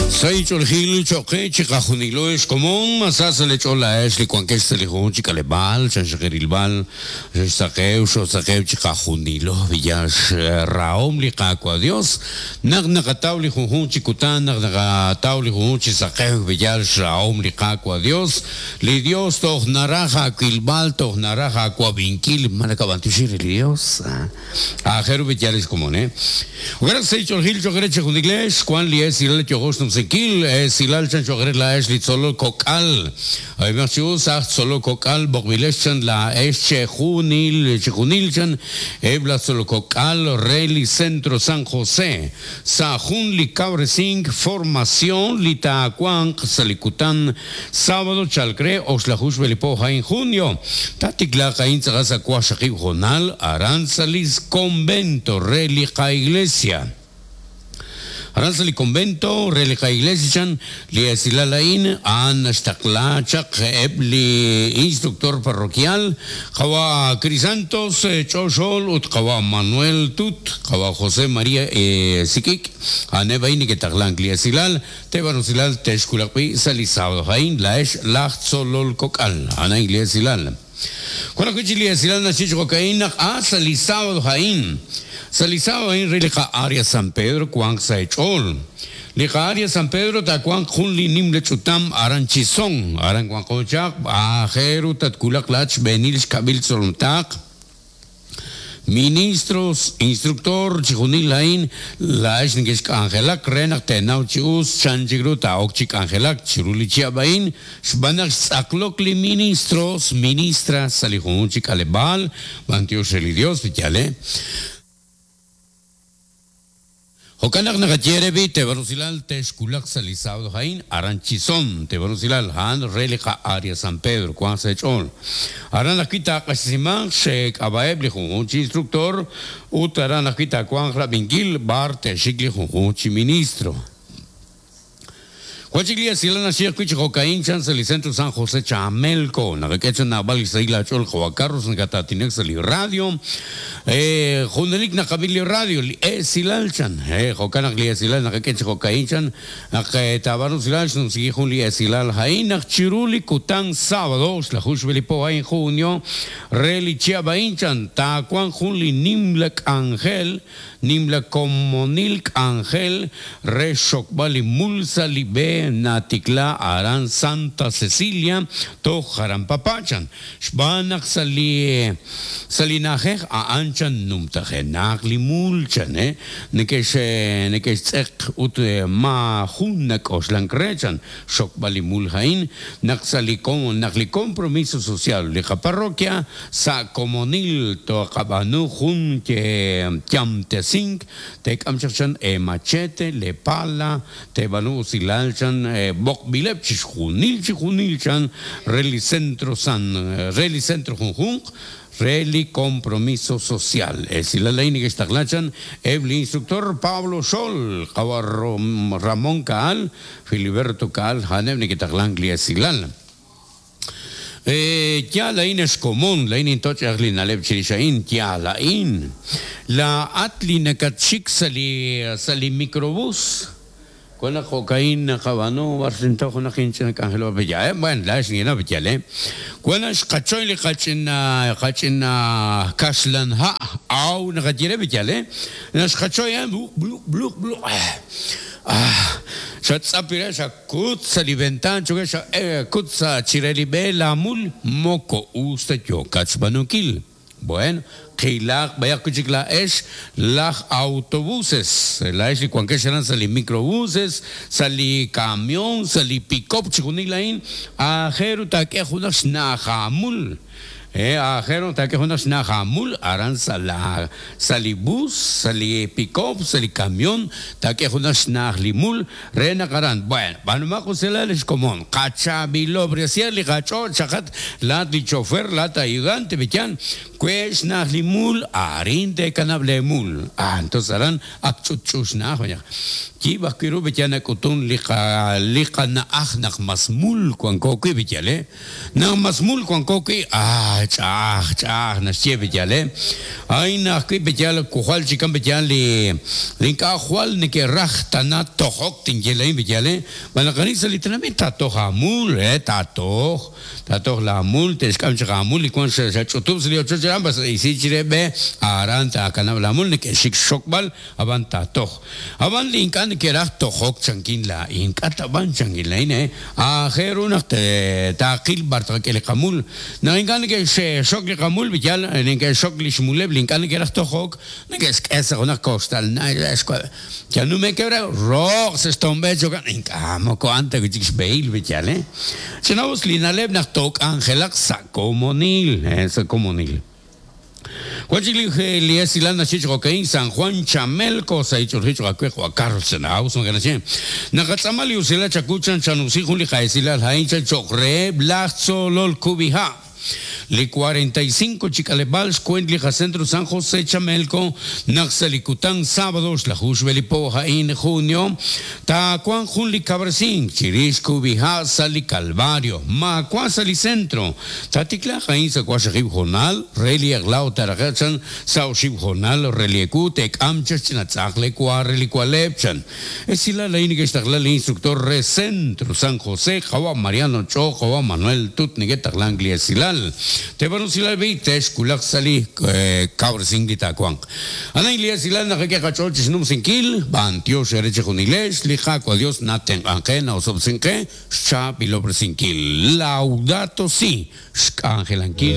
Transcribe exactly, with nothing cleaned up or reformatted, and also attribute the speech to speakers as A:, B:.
A: Saich'oljil choqe chiqajunilo xkomon masasa lech'ola ex li wankex sa' li jun chikaleb'al chanxaqerilb'al xsaqew xosaqew chiqajunilo villax raom li qaawa Dios naq naqataw li junjun chikutan naq naqataw li junjun chisaqew villax raom li qaawa Dios li Dios toj naraja awilb'al toj naraja awab'inkil manakab'antixir li Dios ajeru villax komon eh Ugaraq saich'oljil choqere chijuniglex Juan li es ilal yojox numsekil silal chan choqere la es li tzolo kokal ay marchiu sa tzolo kokal bokbilex chan la es chejunil chejunil chan ebla tzolo kokal reli centro San José sa jun li cabresing formación li tacuan salikutan sábado chalcre oxlajush belipo en junio tatikla kain tzagasa kuashaqib jonal aranzalis convento relica iglesia Aranzali convento, relica iglesia chan, li esilalain, an astakla chak ebli instructor parroquial, kawa Crisantos Choxol, ut kawa Manuel Tut, kawa José María eh, Sikik, anebaini que taglan li esilal, tebanusilal teshkulakpi salisado jain, la es lachzolol kokal, ana iglesia. Cuando kuchili esilal nachich cocaína, a salisado jain. Salisado en relica área San Pedro Juan Saechol. Lica área San Pedro ta Juan Junli Nimle Chutam Aranchizón Aran Juan Kochak Ajeru Tatkulak Lach Benil Kabil Solomtak Ministros, instructor, chijunil lain, la esnikesh angelak, renak tenau chius, chanchigru taok chik angelak, chiruli chiabain, shbanak saklokli ministros, ministras, salijun chikalebal, bantios relidios, vityale. Jokanak nakatierebi, tebarusilal, teshkulak salisado jain, aranchizón, tebarusilal, han relica área San Pedro, Juan Sechol. Aran akita kasiman, shek abaeb lijunchi instructor, utaran akita Juan Rabingil, bar teshikli junchi ministro. Juan Silana Shirkuich Jocaín Chance el Centro San José Chamelco, Nagaquecha Naval Isaila Chol Joacarros, Nagatatinexali Radio, eh, Jundelik Nakabili Radio, eh, Silalchan, eh, Jocanak Silal, Nagaquecha Jocaín Chan, Naketabaru Silal, Nusijun Silal Jain, Chiruli Kután sábado, Slajushbelipo en junio, Reli Chiabain-chan, Tacuan Junli Nimlek Ángel, Nimlek Comonilk Ángel, Re Shokbali Mulsa Libe Natikla Aran Santa Cecilia to Jarampapachan Shbanak Sali Salinajej a Anchan Numtajenak Limulchan eh Nekesh Nekesh Tzek ut Ma Junak Oslankrechan Shokbali Muljain Naksalicon Nakli compromiso social Lija parroquia Sa Comonil to Kabanu Jun que Chamtesink Tek Amchachan e machete le pala te banu silal chan bokbilep chijunil chijunil chan reli centro san reli centro junjun reli compromiso social es la ley que está clachan el instructor Pablo Sol Cabarro Ramón Kaal Filiberto Kaal Hanem Nikitaglan Silal. Eh, ya la in es común, la in intoch aglin aleb chirishain, ya la in. La atlina kachik sali sali microbús. Con la cocaína cabano, barcento con la quince angelo bella, eh, bueno, la es ni no bella, eh. Cuando es cachoy le cachina cachina kaslan ha, au na cachire bella, eh. Nas cachoy eh, blu blu blu blu. Ah, xatzapira xa kutsa liventan chuka xa kutsa chirelibe la mul moko usta yo kachbanukil. Bueno, Qilaq, vaya kuchik la es las autobuses, la es cuanque serán sali microbuses, sali camión, sali pick-up, chikunilain, ajeru take junas najamul. Eh, ajero take junas najamul, aran sala, sali bus, sali pick-up, sali camión, take junas najlimul, rena karan. Bueno, banuma kuselales común, cachabilo, bresiali, cacho, chacat, la di chofer, la ayudante, bichan, pues najlimul, arin de canablemul. Ah, entonces harán akchuchus najaya. Kibas kiru bichan kutun liqa liqa na ajnak masmul cuancoqui bichale. Na masmul cuancoqui, ah. Ch'a'aj ch'a'aj naxye b'eyal ay naq wi' b'eyal kujal chikan b'eyal li li ink'a' jwal neke'raj tana tojok tinyelain b'eyal manaqani sa' li tinamit tatoj amul eh tatoj tatoj la amul texk'am chaq amul li wan xach'utub' sa' li ochoch aran bas isi chire b'e aran taakanab' la amul neke'xik xxokb'al ab'an tatoj ab'an li ink'a' neke'raj tojok chankin laa'in ink'a' tab'an chankin laa'in eh aajel ru naq taaqil b'ar tqak'e li qamul naq ink'a' neke'xxok li qamul b'eyal neke'xok li xmuleb' li ink'a' neke'raj tojok neke'xk'e sa' junaq koxtal yanume'keb' roq sa' xtomb'e chokan ink'a' moko anta wi' chik xb'ehil b'eyal eh chinawus li na'leb' naq took'anjelaq sa' komonil eh sa' komonil Juan li esilal naxich rokein San Juan Chamelco sa ichurhich rakwe Carlos Senaus maganache Nakatz'amal usila chakuchan chanusi jun li qaesilal hain chan chokre blachzolol kubiha Li cuarenta y cinco chikalebal xkuent li Centro San José Chamelco naqsalikutan sábado xlajush belipo jain junio ta kuan jun li cabrecín chirish kubija sali Calvario ma kuan sali centro tatikla jain sa kuaxajib jonal reli aglao tarajachan saushib jonal relieku tek amchach chinatzakle kuareli kualepchan esila la inigextaqla li instructor re Centro San José jawa Mariano Cho jawa Manuel Tut nigetaqlan esilal Tebanusilal bitesh kulak sali cabrecín litakuan. Ana ilia silal najeque cachol chisnum sinkil, bantio shereche junilesh, lija cual Dios naten angena osobsinque, chapilobresinkil. Laudato si, shkangelankil.